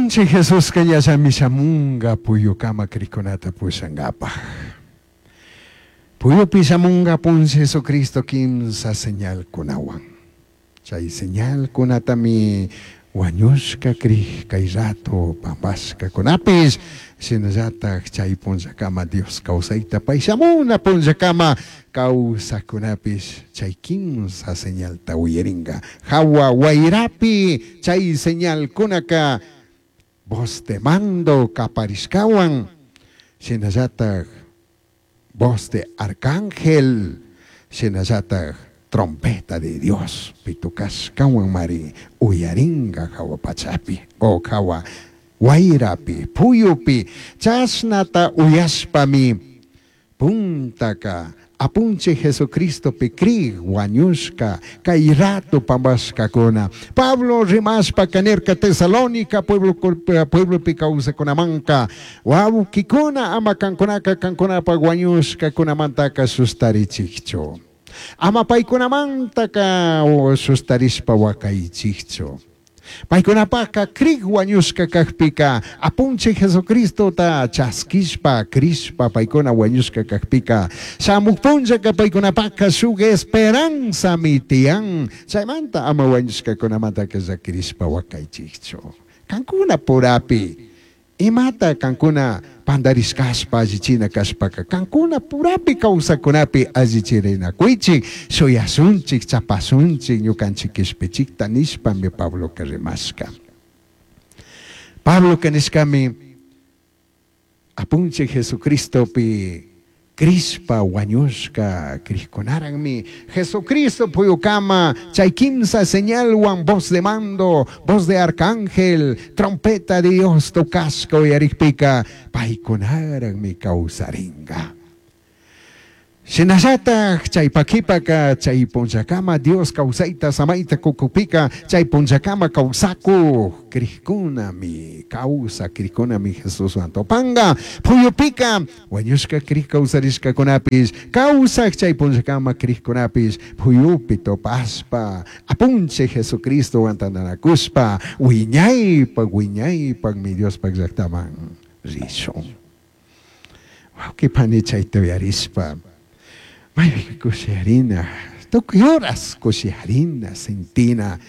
Apunchij Jesusca ñallami shamunga puyucama crijcunata pushangapaj. Puyupi shamunga Apunchij Jesucristo quimsa señalcunahuan. Chai señalcunatami huañushca crij cai rato pambashcacunapish, shinallataj chai punllacama Dios causaita pai shamuna punllacama causajcunapish chai quimsa señalta uyaringa. Jahua huairapi chai señalcunaca voz de mando caparishcahuan, shinallataj voz de arcángel, shinallataj trompeta de Dios pitucashcahuanmari uyaringa jahua pachapi o jahua huairapi, puyupi, chashnata uyashpami puntaca Apunchij Jesucristopi crij huañushca cai rato pambashcacuna. Pablo rimashpaca nirca Tesalónica pueblo pueblopi causacunamanca, Huauquicuna, ama cancunaca cancunapaj huañushcacunamantaca sustarichijchu. Ama paicunamantaca sustarishpa huacaichijchu. Paicunapajca crij huañushca cajpica, Apunchij Jesucristota chasquishpa, crishpa paicuna huañushca cajpica, shamuj punllaca paicunapajca shuj esperanzami tiyan. Chaimanta ama huañushcacunamantaca llaquirishpa huacaichijchu. Cancuna purapi Imata cancuna pandarishcashpa allichina cashpaca, cancuna purapi causacunapi allichirinacuichij, shuyashunchij, chapashunchij, ñucanchij quishpichijta nishpami Pabloca rimashca. Pabloca nishcami, Apunchij Jesucristopi Crishpa huañushca crijcunarajmi Jesucristo puyucama chai quimsa señalhuan voz de mando, voz de arcángel, trompeta de Dios tocashca uyarijpica paicunarajmi causaringa. Shinallataj chai paquipaca chai punllacama Dios causaita samaita cucujpica chai punllacama causacuj crijcunami, causaj crijcunami Jesushuan tupanga. Puyupica Huañushca crij causarishcacunapish, causaj chai punllacama crijcunapish puyupi tupashpa, Apunchij Jesucristohuan tandanacushpa, huiñaipaj huiñaipajmi Diospaj llajtaman rishun. Huauqui pani chaita uyarishpa, maipi cushiyarina, tucui horas cushiyarina, sintina,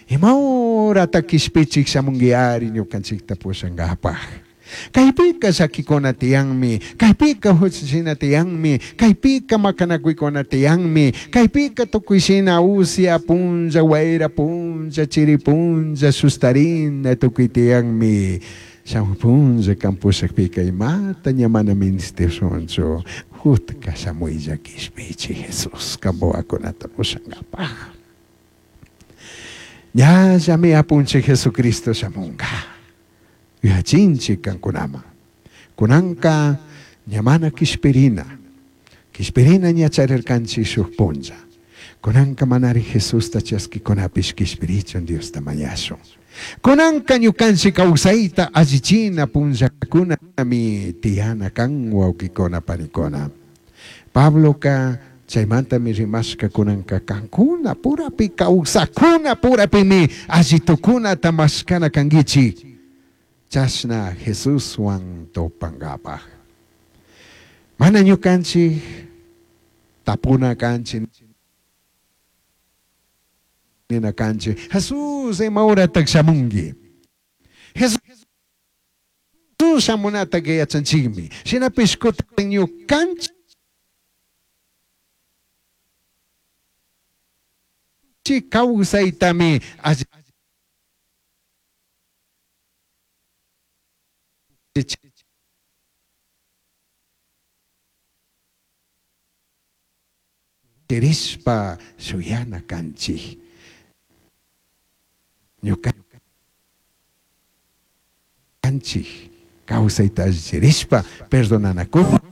ima horata quishpichij shamunguiari ñucanchijta pushangapaj. Caipica llaquicuna tiyanmi, caipica juchachina tiyanmi, caipica macanacuicuna tiyanmi, caipica tucui shina usia punlla, huaira punlla, chiri punlla, sustarina tucui tiyanmi. Shamuj punlla can pushajpica imata ña mana ministishunchu, jutca shamuilla quishpichi Jesús can huahuacunata pushangapaj. Ñallami Apunchij Jesucristo shamunga. Yuyachinchij cancunaman. Cunanca ña mana quishpirina, quishpirina ña charircanchij shuj punlla. Cunanca manari Jesusta chasquicunapish quishpirichun Diosta mañashun. Cunanca ñucanchij causaita allichina punllacunami tiyana can, huauquicuna, panicuna. Pabloca chaimantami rimashca cunanca cancuna purapi causacuna purapimi alli tucunata mashcana canguichij, chashna Jesushuan tupangapaj. Mana ñucanchij tapuna canchij nina canchij, Jesús ima horataj shamungui? Jesús shamunataca yachanchijmi. Shinapish cutin ñucanchij causaitami allichirishpa shuyana canchij. Ñucanchij causaita allichirishpa perdonanacushpa.